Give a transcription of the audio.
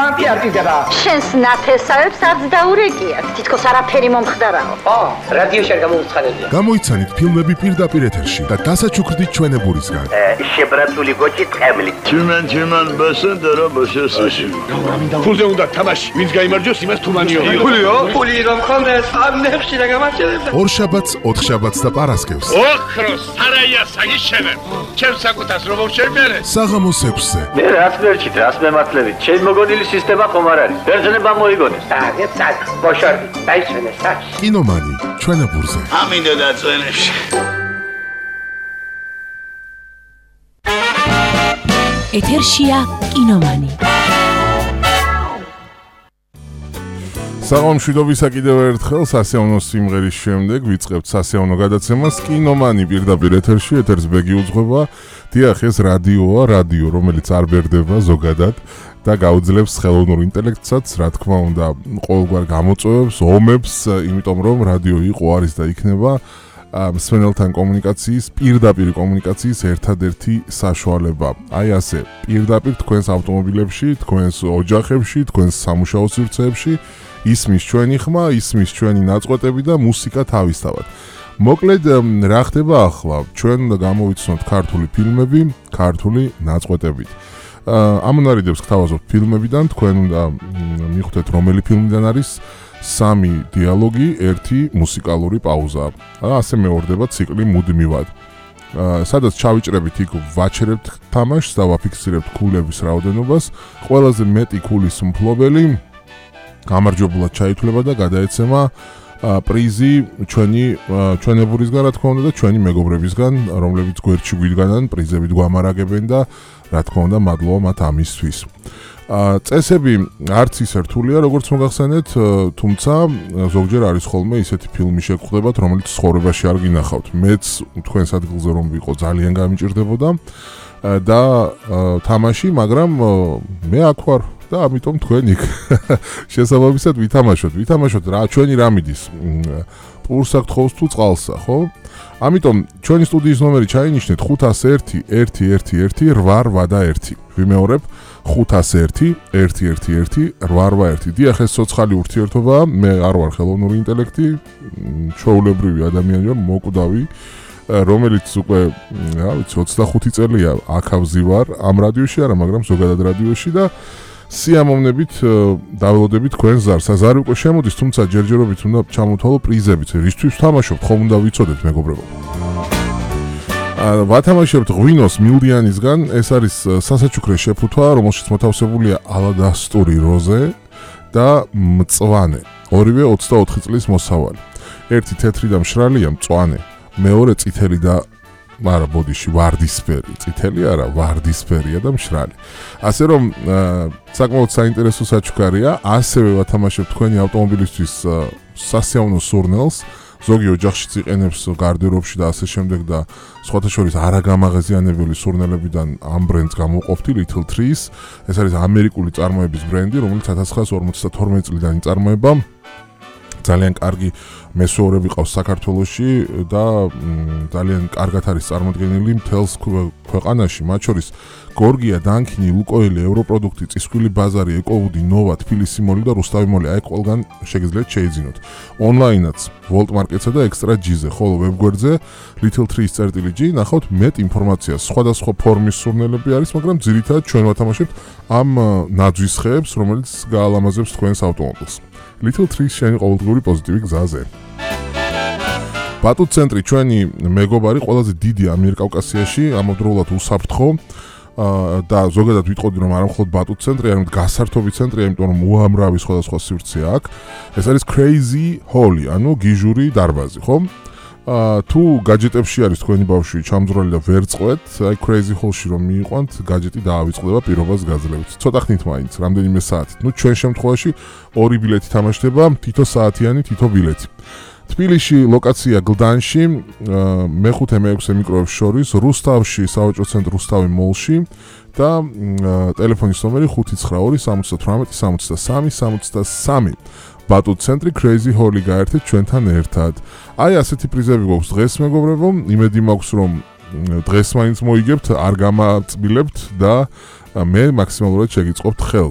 მანტიარტიდება. შენს ნათესავებს არც დაურეკიათ, თითქოს არაფერი მომხდარაო. რადიოში არ გამოუცხადებია. გამოიცანით ფილმები პირდაპირ ეთერში და დასაჩუქრდით ჩვენებურისგან. შებრაცული გოჭი ტყემლი. Чиман басендера башესაში. ფულზე უნდა თამაში. ვინც გაიმარჯვოს, იმას თუმანიო. ფულიო? ფული რომ ხონდეს, ამნებში და გამარჯვებდა. ორშაბათს, ოთხშაბათს და პარასკევს. ოქროს სარაია საგიშენე. ჩემს საკუთას რომ შევმერე. საღამოს 6-ზე. მე რაც მერჩით, რაც მემართლებით. ჩემ მოგონილი სისტემა ხომ არ არის. ბერძნება მოიგონეს. დაგეცად, ბოშორდი, დაიშვენე საჩი. კინომანი, ჩვენებურზე. ამინდა დაწვენებში. ეთერშია კინომანი. საღამოშვიდობისა კიდევ ერთხელ სასეონო სიმღერის შემდეგ ვიწყებთ სასეონო გადაცემას კინომანი პირდაპირ ეთერში. ეთერს ბეგი უძღვება. დიახ, ეს რადიოა, რადიო, რომელიც არ ბერდება ზოგადად და გაუძლებს ხელოვნურ ინტელექტსაც, რა თქმა უნდა, ყოველგვარ გამოწვევებს, ომებს, იმიტომ რომ რადიო იყო, არის და იქნება მსმენელთან კომუნიკაციის, პირდაპირ კომუნიკაციის ერთადერთი საშუალება. აი ასე, პირდაპირ თქვენს ავტომობილებში, თქვენს ოჯახებში, თქვენს სამუშაო სივრცეებში ისმის ჩვენი ხმა, ისმის ჩვენი ნაწყვეტები და მუსიკა თავისთავად. მოკლედ, რა ხდება ახლა? ჩვენ უნდა გამოვიცნოთ ქართული ფილმები, ქართული ნაწყვეტებით. ამონარიდებს გთავაზობთ ფილმებიდან, თქვენ უნდა მიხვდეთ რომელი ფილმიდან არის 3 დიალოგი, 1 მუსიკალური პაუზა. ასე მეორდება ციკლი მუდმივად. სადაც ჩავიჭრებით, იქ ვაჩერებთ თამაშს და ვაფიქსირებთ ქულების რაოდენობას. ყველაზე მეტი ქულის მფლობელი გამარჯვებულად ჩაითვლება და გადაეცემა პრიზი ჩვენებურისგან, რა თქმა უნდა, და ჩვენი მეგობრებისგან, რომლებიც გვერდში გვიდგანან, პრიზებით გვამარაგებენ და რა თქმა უნდა, მადლობა მათ ამისთვის. წესები არც ისე რთულია, როგორც მოგახსენეთ, თუმცა ზოგჯერ არის ხოლმე ისეთი ფილმი შეგხვდებათ, რომელიც ცხოვრებაში არ გინახავთ. მეც თქვენს ადგილზე რომ ვიყო, ძალიან გამიჭირდებოდა და თამაში, მაგრამ მე აქ ვარ და ამიტომ თქვენ იქ შესაბამისად ვითამაშოთ რა ჩვენი რა მიდის პურს აქ თხოვს თუ წყალსა, ხო? ამიტომ ჩვენი სტუდიის ნომერი ჩაინიშნეთ 501 111 881. ვიმეორებ 501 111 881. დიახ, ეს ცოცხალი ურთიერთობაა, მე არ ვარ ხელოვნური ინტელექტი, ჩვეულებრივი ადამიანი ვარ, მოკვდავი, რომელიც უკვე, რა ვიცი, 25 წელია აქავზი ვარ ამ რადიოში, არა, მაგრამ ზოგადად რადიოში და სიამოვნებით დაველოდებით თქვენს ზარს. ზარი უკვე შემოდის, თუმცა ჯერჯერობით უნდა ჩამოთვალო პრიზებიც. რისთვის ვთამაშობთ, ხომ უნდა ვიცოდეთ, მეგობრებო. ვათამაშებთ ღვინოს მილდიანისგან, ეს არის სასაჩუქრე შეფუთვა, რომელშიც მოთავსებულია ალადასტური როზე და მწვანე. ორივე 24 წლის მოსავალი. ერთი თეთრი და მშრალია, მწვანე. მეორე წითელი და არა ბოდიში ვარდისფერი, წითელი არა, ვარდისფერია და მშრალი. ასე რომ საკმაოდ საინტერესო საჩუქარია, ასევე ვათამაშებთ თქვენი ავტომობილისთვის სასეონო სურნელს, ზოგი ოჯახშიც იყენებს გარდერობში და ასე შემდეგ და სხვათა შორის არაგამაღაზიანებელი სურნელებიდან ამ ბრენდს გამოვყოფთი Little Trees. ეს არის ამერიკული წარმოების ბრენდი, რომელიც 1952 წლიდან იწარმოება. ძალიან კარგი მესოურები ყავს საქართველოში და ძალიან კარგად არის წარმოდგენილი მთელს ქვეყანაში, მათ შორის გორგია, დანქინი, ლუკოილი, ევროპროდუქტი, წისქვილი ბაზარი, ეკოვუდი, ნოვა, თბილისი მოლი და რუსთავი მოლი, აი ყველგან შეგიძლიათ შეიძინოთ. ონლაინაც Volt Market-ზე და Extra G-ზე, ხოლო ვებგვერდზე Little Trees.g ნახავთ მეტ ინფორმაციას. სხვადასხვა ფორმის სურნელები არის, მაგრამ ძირითადად ჩვენ ვათამაშებთ ამ ნაძვის ხეებს, რომელიც გაალამაზებს თქვენს ავტომობილს. Little Trees შენი ყოველდღიური პოზიტივი გზაზე. ბატუტ ცენტრი ჩვენი მეგობარი, ყველაზე დიდი ამიერკავკასიაში, ამავდროულად უსაფრთხო და ზოგადად ვიტყოდი რომ არამხოლოდ ბატუტ ცენტრი, არამედ გასართობი ცენტრია, იმიტომ რომ უამრავი სხვადასხვა სივრცე აქვს. ეს არის Crazy Holly, ანუ გიჟური დარბაზი, ხო? თუ გაჯეტებში არის თქვენი ბავშვი ჩამძროლი და ვერ წყვეთ, აი Crazy Hall-ში რომ მიიყვანთ, გაჯეტი დაავიწყდება პირობას გაძლევთ. ცოტა ხნით მაინც, რამდენიმე საათით. ნუ ჩვენ შემთხვევაში 2 ბილეთი თამაშდება, თითო საათიანი, თითო ბილეთი. თბილისში ლოკაცია გლდანში, მე-5-მე-6 მიკროებს შორის, რუსთავში, სავაჭრო ცენტრ რუსთავი მოლში და ტელეფონის ნომერი 592 78 63 63. ბატუტ ცენტრი Crazy Holly გაერთეთ ჩვენთან ერთად. აი ასეთი პრიზები გვაქვს დღეს, მეგობრებო. იმედი მაქვს, რომ დღეს მაინც მოიგებთ, არ გამაწბილებთ და მე მაქსიმალურად შეგიწყობთ ხელს.